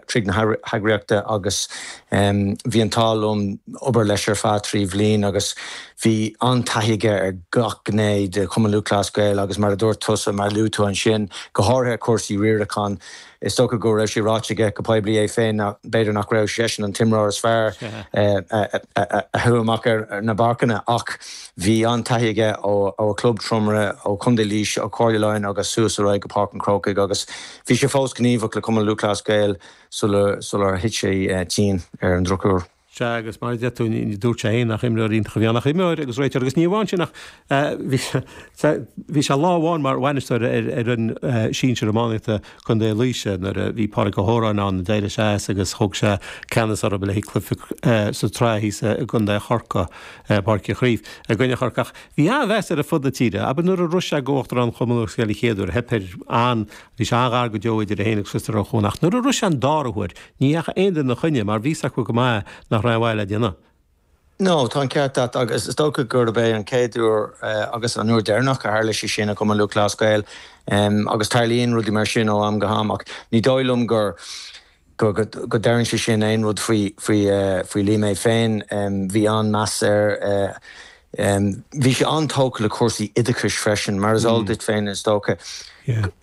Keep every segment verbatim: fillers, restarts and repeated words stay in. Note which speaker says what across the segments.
Speaker 1: tríd na heagraíochta agus bhí an t-ádh liom obair leis ar feadh trí bhliain agus bhí an-taithí aige ar gach gné de Chumann Lúthchleas Gael agus mar a dúirt tusa mar luaigh tú ansin go háirithe cúrsaí riaracháin. Is dócha go raibh sé ráite aige go poiblí é féin b'fhéidir nach raibh seisean an t-imreoir is fearr a chuaigh amach ar na páirceanna ach bhí an-taithí aige ó ó Club Tromaire ó Chontae Laoise ó Chomhairle Laighean agus suas ar aghaidh go Páirc an Chrócaigh agus bhí sé fós gníomhach le Cumann Lúthchleas Gael sular sular thit sé tinn ar an drochuair.
Speaker 2: Sea agus mar a deir tú dúirt sé féin nach imreoir iontach a bhí ann ach imreoir agus réiteoir agus ní amháin sin ach bhí bhí sé lá amháin mar bhainisteoir ar ar an sinsir iománaíochta Contae Laoise nuair a bhí Pádraig Ó hÓráin ann d'éirigh sé as agus thóg sé ceannas orthu le haghaidh cluiche sa tsraith thíos i gContae Chorcaí Páirc Uí Chaoimh i gcoinne Chorcaí ach bhí an-mheas air ar fud na tíre. Abair nuair a rith sé go Uachtarán Chumann Lúthchleas Gael an chéad uair theip air an bhí sé an-ghar go deo idir é féin agus Christopher Ó Cuan ach nuair a rith sé an dara huair ní dheachaigh aon duine ina choinne mar bhí a fhios acu go maith nach raibh aon mhaith le déanamh.
Speaker 1: No, tá an ceart agat agus is dócha gurb é an chéad uair agus an uair deireanach a tharla sé sin i Cumann Lúthchleas Gael agus tarlaíonn rudaí mar sin ó am go ham ach ní dóigh liom gur go go ndeireann sé sin aon rud faoi faoi faoi Liam é féin bhí an-meas air Bhí sé an-tógtha le cúrsaí oideachais freisin, mar is eol duit féin is dócha.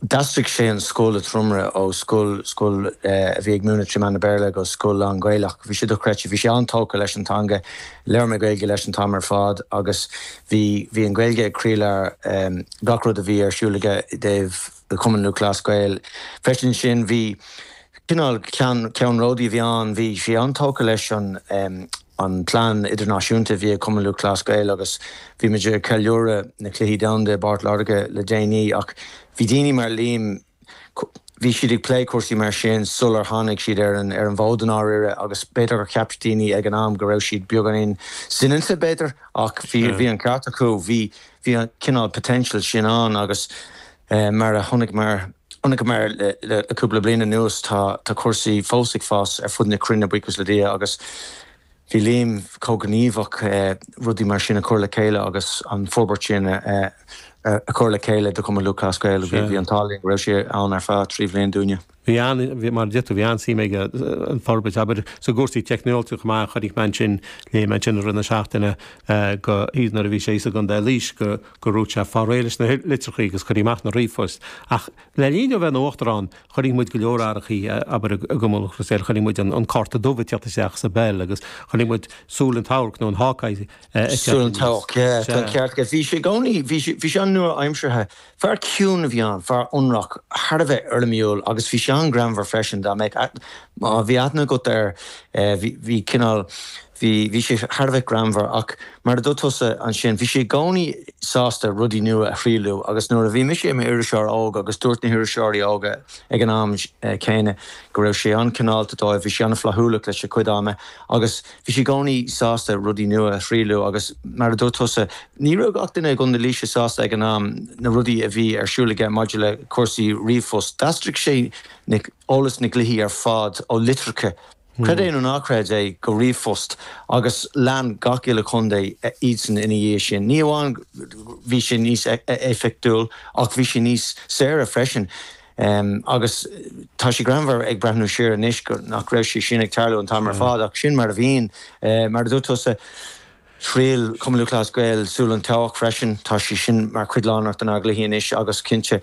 Speaker 1: D'aistrigh sé an scoil i Tromaire ó scoil scoil a bhí ag múineadh trí mheán na Béarla go scoil lán-Ghaelach. Bhí sé dochreidte. Bhí sé an-tógtha leis an teanga. Labhair mé Gaeilge leis an t-am ar fad agus bhí bhí an Ghaeilge ag croílár gach rud a bhí ar siúl aige i dtaobh Chumann Lúthchleas Gael. Freisin sin bhí cineál ceannródaí a bhí ann. Bhí sé an-tógtha leis an an plean idirnáisiúnta a bhí ag Cumann Lúthchleas Gael agus bhí muid ag ceiliúradh na Cluichí Domhanda i bPort Láirge le déanaí ach bhí daoine mar Liam bhí siad ag plé cúrsaí mar sin sular tháinig siad ar an ar an bhfód i ndáiríre agus b'fhéidir gur cheap daoine ag an am go raibh siad beagáinín soineanta b'fhéidir ach bhí bhí an ceart acu bhí bhí an cineál potential sin ann agus mar a chonaic mar chonaiceamar le cúpla bliain anuas tá tá cúrsaí fós ag fás ar fud na cruinne buíochas le Dia agus bhí Liam chomh gníomhach rudaí mar sin a chur le chéile agus an forbairt sin a chur le chéile do Chumann Lúthchleas Gael. Bhí an t-ádh linn go raibh sé ann ar feadh trí bhliain dúinne.
Speaker 2: Bhí an, bhí mar a deir tú, bhí an-suim aige an forbairt, abair, sa gcúrsaí teicneolaíochta chomh maith, chonaic mé ansin, léigh mé ansin i rith na seachtaine go, nuair a bhí sé thíos i gContae Laois go, go raibh sé fáil réidh leis na litreachaí agus cuireadh amach na ríomhphoist. Ach le linn dó bheith ina uachtarán, chonaic muid go leor athrachaí, abair, i gCumann Lúthchleas Gael, chonaic muid an cárta dubh ag teacht isteach sa bpeil agus chonaic muid súil an tseabhaic nó an Hawkeye ag teacht
Speaker 1: Súil an tseabhaic, yeah, tá an ceart agat. Bhí sé i gcónaí, bhí sé, bhí sé an-nua-aimseartha. Fear ciúin a bhí ann, fear ionraic, thar a bheith éirimiúil agus bhí sé an-ghreannmhar freisin. Dá mbeadh, má bhí aithne agat air, bhí, bhí cineál, Bhí, bhí sé thar a bheith greannmhar ach mar a dúirt tusa ansin, bhí sé i gcónaí sásta rudaí nua a thriailú agus nuair a bhí mise i m'iriseoir óg agus dúirt na hiriseoirí óga ag an am céanna go raibh sé an-chineálta dóibh, bhí sé an-fhlaithiúlach leis a chuid ama agus bhí sé i gcónaí sásta rudaí nua a thriailú agus mar a dúirt tusa, ní raibh gach duine i gContae Laoise sásta ag an am na rudaí a bhí ar siúl aige maidir le cúrsaí ríomhphost. D'aistrigh sé na, eolas na gcluichí ar fad ó litreacha Creid é nó ná creid é, go ríomhphost agus lean gach uile chontae iadsan ina dhiaidh sin. Ní amháin bhí sé níos éifeachtúil ach bhí sé níos saoire freisin. Agus tá sé greannmhar ag breathnú siar anois go nach raibh sé sin ag tarlú an t-am ar fad ach sin mar a bhíonn. Mar a dúirt tusa, thriail Cumann Lúthchleas Gael Súil an tSeabhaic freisin. Tá sé sin mar chuid lárnach denár gcluichí anois agus cinnte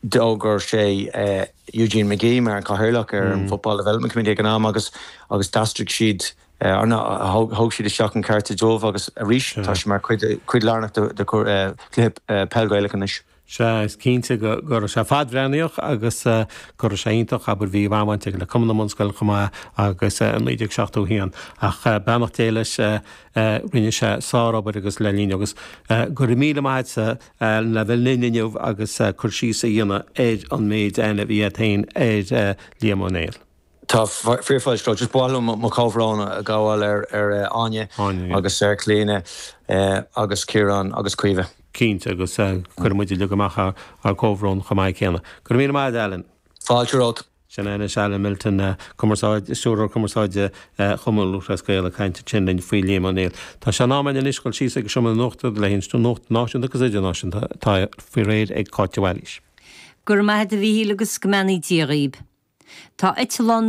Speaker 1: d'fhógair sé Eugene McGee mar an cathaoirleach ar an Football Development Committee ag an am agus agus d'aistrigh siad thóg siad isteach an cárta dubh agus arís tá sé mar chuid cuid lárnach de de chluiche peil Gaelach anois.
Speaker 2: Sea, is cinnte go raibh sé fadbhreathnaíoch agus go raibh sé iontach, abair, bhí an-bhaint aige le Cumann na mBunscoil chomh maith agus i naoi déag seachtó a haon. Ach beannacht Dé leis, rinne sé sárobair agus le linn agus go raibh míle maith agatsa le bheith linn inniu agus cur síos a dhéanamh ar an méid aithne a bhí agat féin ar Liam Ó Néill.
Speaker 1: Tá fíorfháilte romhat. Just ba mhaith liom mo chomhbhrón a ghabháil ar ar Áine agus ar Chlíona agus Ciarán agus Caoimhe.
Speaker 2: Cinnte, agus cuirfidh muid uilig amach ár gcomhbhrón chomh maith céanna. Go raibh míle maith agat, Alan.
Speaker 1: Fáilte romhat.
Speaker 2: Sin é anois Alan Milton, cumarsáid, Stiúrthóir Cumarsáide Chumann Lúthchleas Gael ag caint ansin linn faoi Liam Ó Néill. Tá sé in am againn anois dul síos ag an Seomra Nuachta le haghaidh an nuacht náisiúnta agus idirnáisiúnta atá faoi réir ag Cáit de Bhailís.
Speaker 3: Go raibh maith agat a Mhíchíl agus go mbeannaí Dia dhaoib. Tá eitleán